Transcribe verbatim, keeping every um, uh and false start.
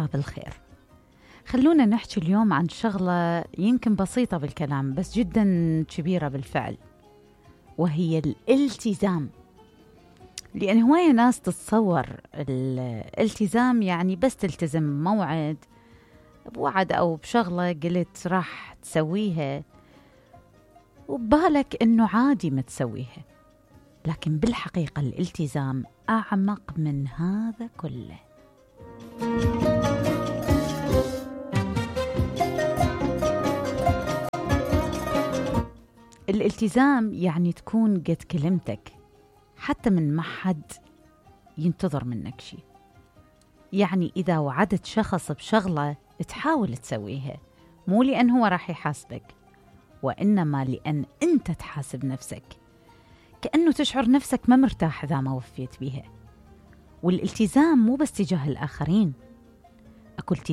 باب الخير. خلونا نحكي اليوم عن شغلة يمكن بسيطة بالكلام بس جدا كبيرة بالفعل، وهي الالتزام. لأن هواية ناس تتصور الالتزام يعني بس تلتزم موعد بوعد أو بشغلة قلت راح تسويها وببالك إنه عادي ما تسويها، لكن بالحقيقة الالتزام أعمق من هذا كله. الالتزام يعني تكون قد كلمتك حتى من ما حد ينتظر منك شيء. يعني إذا وعدت شخص بشغلة تحاول تسويها، مو لأن هو راح يحاسبك، وإنما لأن أنت تحاسب نفسك، كأنه تشعر نفسك ما مرتاح إذا ما وفيت بيها. والالتزام مو بس تجاه الآخرين، أكو